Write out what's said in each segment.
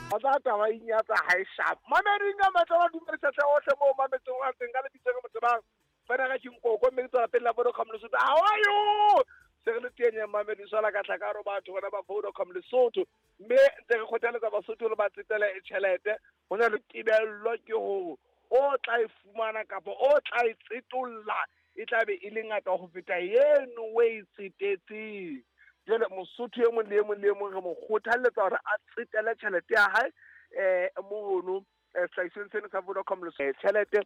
Tsa taba inyatsa ha e sharp. Mameding a matla ba dumedisa hle ohle moo mametseng wa teng ka lebitso ke motsebang. Fela ga ke nkoko mme ke tswela pele la Vodacom Lesotho. How are you? Se re le teng ya mamedi swala ka tlhaka ro batho bona ba Vodacom Lesotho. Mme ntse re kgothaletsa Basotho le ba tsetele tjhelete. Ho na le tebello ke hore o tla e fumana kapa o tla e tsetolla e tla be e le ngata ho feta eno o e tsetetseng. Jwale Mosotho e mong le e mong le e mong re mo kgothalletsa hore a tsetele tjhelete ya hae mono sehlahisweng sena sa Vodacom le tjhelete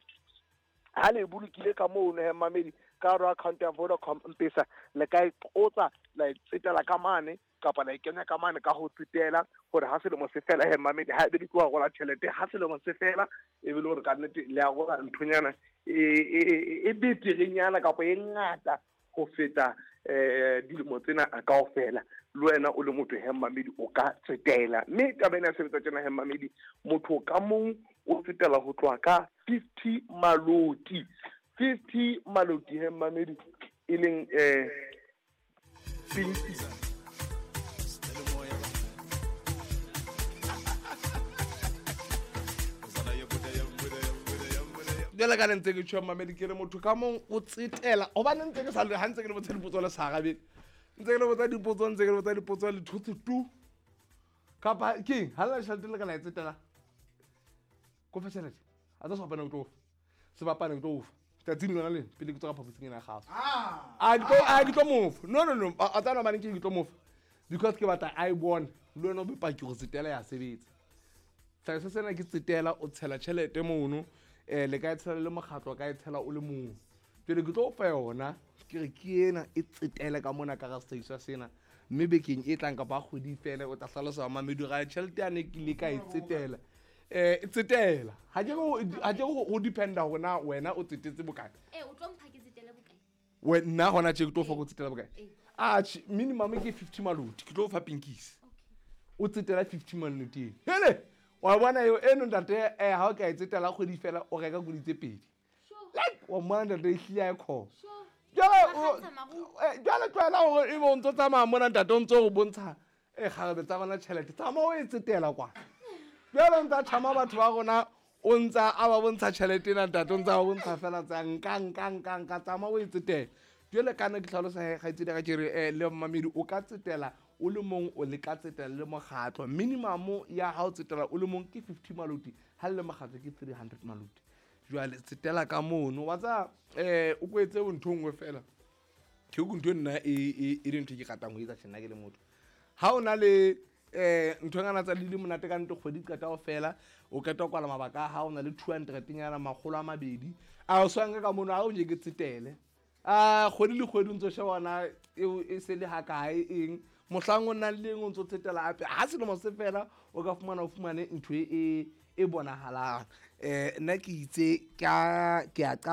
ha le e bolokile ka mono he mamedi ka hare ho account ya Vodacom Mpesa le ka e qotsa la e tsetela ka mane kapa la e kenya ka mane ka ho tsetela hore ha selemo se fela he mamedi ha ebe le tloha rola tjhelete ha selemo se fela e be le hore ka nnete le a rola nthonyana e beterenyana kapa e ngata ho feta dilemo tsena kaofela. Le wena o le motho he mamedi o ka tsetela, mme taba ena ya sebetsa tjena he mamedi, motho ka mong o tsetela ho tloha ka 50 maloti, 50 maloti he mamedi, e leng pinki. Jwale ka le ntse ke tjho mamedi ke re motho ka mong o tsetela hobane ntse ke sa le ha ntse ke le botsa dipotso le sa arabe, ntse ke le botsa dipotso, ntse ke le botsa dipotso le thotse tu kapa keng ha le tjhelete le ka la e tsetela ko fa tjhelete a tsa sebapane ke tlo fa sebapane ke tlo fa tsatsing lona le pele ke tswa ka phaposing ena ya gago a ke tlo mofa no no no a tsana mane ke tlo mofa because ke batla a e bone le wena o be paki gore tsetela ya sebetsa. Tlhagiso sena ke tsetela o tshela tjhelete mono le ka e tshela le mokgatlo ka e tshela o le mong. Jwale ke tlo fa yona ke re ke ena e tsetele ka mona ka ga sehlahiswa sena mme bekeng e tlang kapa kgwedi fela o tla hlalosa mamedi ga tjhelete yane ke ile ka e tsetela. E tsetela ha ke go dependa hore na wena o tsetetse bokae. O tlo mpha ke tsetele bokae? Nna hona tje ke tlo fa go tsetela bokae? Atjhe, minimum ke 50 maloti, ke tlo fa pinkisi. O tsetela 50 maloti. Hele, wa bona eo eno ntate ha o ka e tsetela kgwedi fela o reka koloi tse pedi. Like wa mmona ntate e hlile a e khona. Jwale tlwaela hore ebe o ntso tsamaya mona ntate o ntso o bontsha kgarebe tsa rona tjhelete. Tsamaya o e tsetela kwa. Jwale o ntsa tjhama batho ba rona o ntsa a ba bontsha tjhelete ena ntate o ntsa ba bontsha fela tsa nka nka nka nka tsamaya o e tsetela. Jwale kana ke hlalosa kgaitsedi ka ke re le mmamedi o ka tsetela o le mong o le ka tsetela le mokgatlo. Minimum ya ha o tsetela o le mong ke 50 maloti, ha le mokgatlo ke 300 maloti. Jwale tsetela ka mono wa tsa o kwetse ntho nngwe fela ke go ntho nna e le ntho ke ratang ho etsa tjena ke le motho. Ha o na le ntho ngana tsa le monate ka ntho kgwedi qeta ho fela o qeta kwala mabaka ha o na le 200 nyana makgolo a mabedi a o swange ka mono ha o nje ke tsetele a kgwedi le kgwedi ntso shebana e se le ha kae eng mohlang o nang le eng o ntso tsetela hape ha selemo se fela o ka fumana o fumane ntho e bonahalang. Nna ke itse ka ke a qala